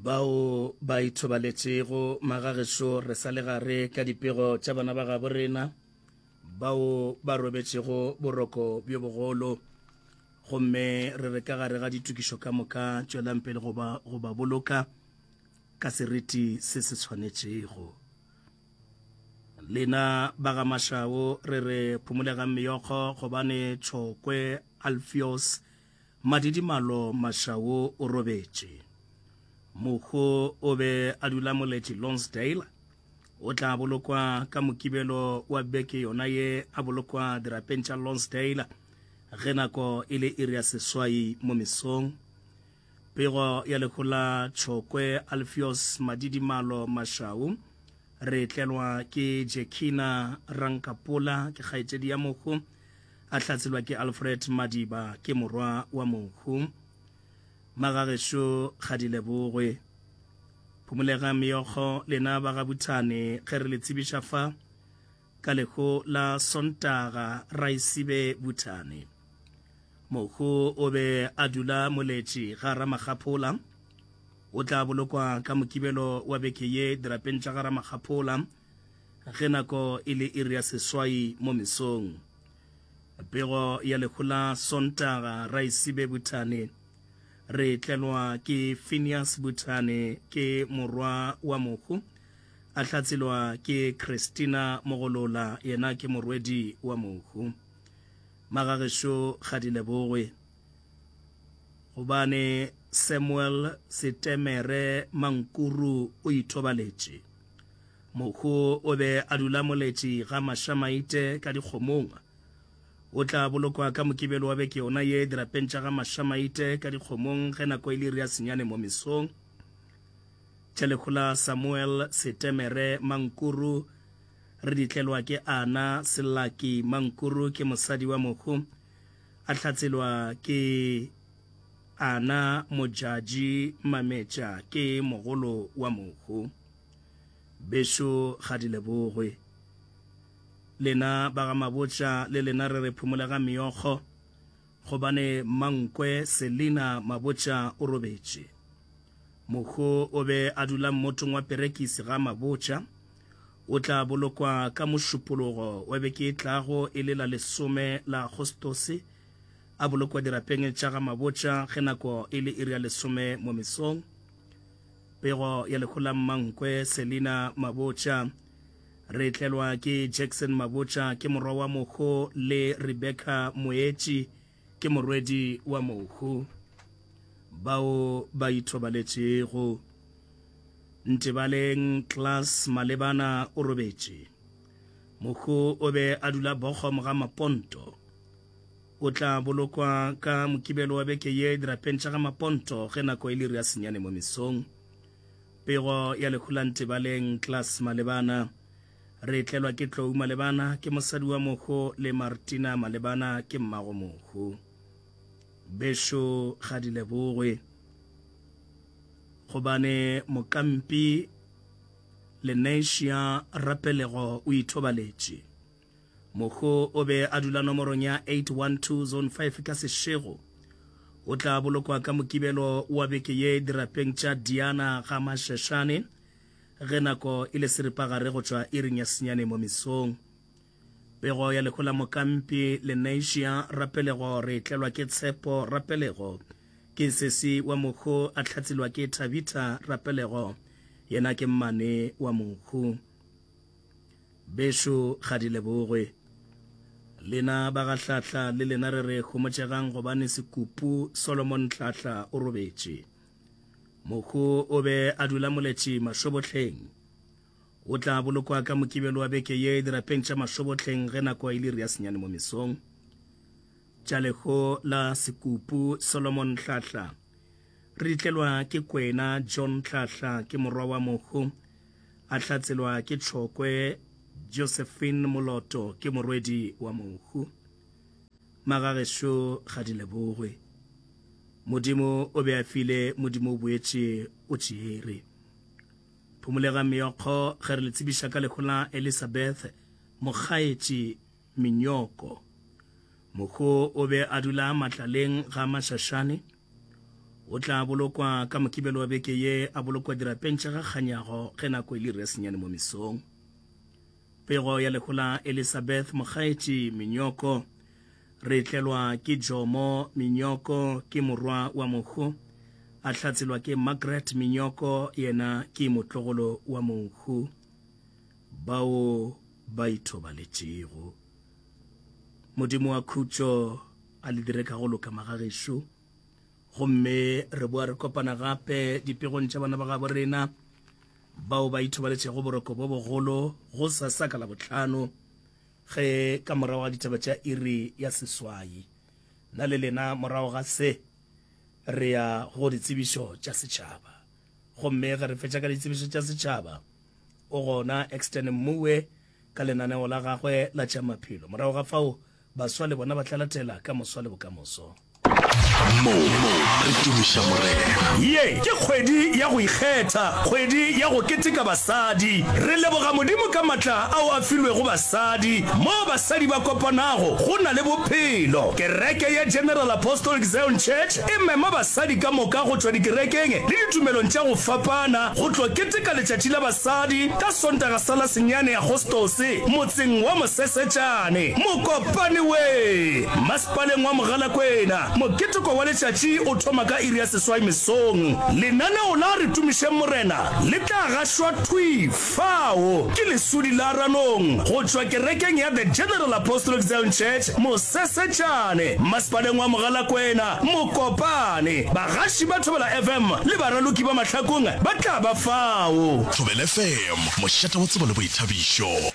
Bao ba ithobaletšego magagešo re sa le gare ka dipego tša bana ba gabo rena bao ba robetšego boroko bjo bogolo gomme re re ka gare ga ditokišo ka moka tšwelang pele go ba, go ba boloka ka seriti se se tshwanetšego. Lena ba ga Mashao re re phomolegang meokgo gobane Tšhokwe Alfios Madidimalo Mashao o robetše. Mohu o be a dula Moletši Lonsdale. O tla bolokwa ka Mokibelo wa beke yona ye a bolokwa dirapeng tša Lonsdale ge nako e le iri ya seswai mo mesong. Pego ya lehu la Tšhokwe Alfios Madidimalo Mashau re tlelwa ke Jekina Rankapola ke kgaetšedi ya mohu a hlatselwa ke Alfred Madiba ke morwa wa mohu. Magagešo ga di lebogwe. Phomolega meokgo lena ba ga Buthane ge re le tsebiša fa ka lehu la Sontaga Raisibe Buthane. Mohu o be a dula Moletši ga Ramakgaphola. O tla bolokwa ka Mokibelo wa beke ye dirapeng tša ga Ramakgaphola ge nako e le iri ya seswai mo mesong. Pego ya lehu la Sontaga Raisibe Buthane re tlelwa ke Phineas Buthane ke morwa wa mohu a hlatselwa ke Christina Mogolola yena ke morwedi wa mohu. Magagešo ga di lebogwe gobane Samuel Setemere Mankuru o ithobaletše. Mohu o be a dula Moletši ga Mašamaite ka dikgomong. O tla bolokwa ka Mokibelo wa beke yona ye dirapeng tša ga Mašamaite ka dikgomong ge nako e le iri ya senyane mo mesong. Tša lehu la Samuel Setemere Mankuru re di tlelwa ke Ana Selaki Mankuru ke mosadi wa mohu a hlatselwa ke Ana Mojaji Mametša ke mogolo wa mohu. Bešo ga di lebogwe. Lena ba ga Mabotja le lena re re phumolega meokgo gobane Mmankwe Selina Mabotja o robetše. Mohu o be a dula mmotong wa Perekisi ga Mabotja. O tla bolokwa ka Mošupologo wa beke e tlago e le la lesome la Agostose, a bolokwa dirapeng tša ga Mabotja ge nako e le iri ya lesome mo mesong. Pego ya lehu la Mmankwe Selina Mabotja re tlelwa ke Jackson Mabotja ke morwa wa mohu le Rebecca Moetši ke morwedi wa mohu bao ba ithobaletšego. Ntebaleng Klaas Malebana o robetše. Mohu o be a dula Bochum ga Maponto. O tla bolokwa ka Mokibelo wa beke ye dirapeng tša ga Maponto ge nako e le iri ya senyane mo mesong. Pego ya lehu la Ntebaleng Klaas Malebana re tlelwa ke Tlou Malebana ke mosadi wa mohu le Martina Malebana ke mmago mohu. Bešo ga di lebogwe gobane mokampi Lenasia Rapelego o ithobaletše. Mohu o be a dula nomorong ya 812 Zone 5 ka Seshego. O tla bolokwa ka Mokibelo wa beke ye dirapeng tša Diana ga Masheshane ge nako e le seripagare go tšwa iring ya senyane mo mesong. Pego ya lehu la mokampi Lenasia Rapelego re tlelwa ke Tshepo Rapelego ke sesi wa mohu a hlatselwa ke Thabitha Rapelego yena ke mmane wa mohu. Bešo ga di lebogwe. Lena ba ga Hlahla le lena re re homotšegang gobane Sekupu Solomon Hlahla o robetše. Mohu o be a dula Moletši Mašobohleng. O tla bolokwa ka Mokibelo wa beke ye dirapeng tša Mašobohleng ge nako e le iri ya senyane mo mesong. Tša lehu la Sekupu Solomon Hlahla re di tlelwa ke Kwena John Hlahla ke morwa wa mohu a hlatselwa ke Tšhokwe Josephine Moloto ke morwedi wa mohu. Magagešo ga di lebogwe. Modimo o be a file, Modimo o boetše o tšeere. Phumolega meokgo ge re le tsebiša ka lehu la Elizabeth Mokgaetši Minyoko. Mohu o be a dula Matlaleng ga Mašašane. O tla bolokwa ka Mokibelo wa beke ye, a bolokwa dirapeng tša ga Kganyago ge nako e le iri ya senyane mo mesong. Pego ya lehu la Elizabeth Mokgaetši Minyoko re tlelwa ke Jomo Minyoko ke morwa wa mohu, a hlatselwa ke Margaret Minyoko yena ke motlogolo wa mohu bao ba ithobaletšego. Modimo wa khutšo a le dire ka go loka magagešo. Gomme re boa re kopana gape dipegong tša bana ba gabo rena bao ba ithobaletšego boroko bo bogolo go sasa ka Labohlano ge ka morago ga ditaba tša iri ya seswai. Nna le lena morago ga se re ya go ditsebišo tša setšhaba. Gomme ge re fetša ka ditsebišo tša setšhaba, o gona Exton Mmuwe ka lenaneo la gagwe la tša maphelo. Morago ga fao Baswa le bona ba tla latela ka moswa le bokamoso. Mo re tumiša Morena. Ye ke kgwedi ya go ikgetha, kgwedi ya go keteka basadi. Re leboga Modimo ka matla ao a filwego basadi. Moo basadi ba kopanago, go na le bophelo. Kereke ya General Apostolic Zion Church e mema basadi ka moka go tšwa dikerekeng le ditumelong tša go fapana go tlo keteka Letšatši la Basadi ka Sontaga sa la senyane Agostose motseng wa Mosesetšane, Mokopane we, masepaleng wa Mogalakwena. Moketeko wa letšatši o thoma ka iri ya seswai mesong. Lenaneo la Re Tumišeng Morena le tla gašwa thwi fao ke Lesodi la Ranong go tšwa kerekeng ya The General Apostolic Zion Church, Mosesetšane, masepaleng wa Mogalakwena, Mokopane. Bagaši ba Thobela FM le baraloki ba Mahlakong ba tla ba fao. Thobela FM, mošate wa tsebo le boithabišo.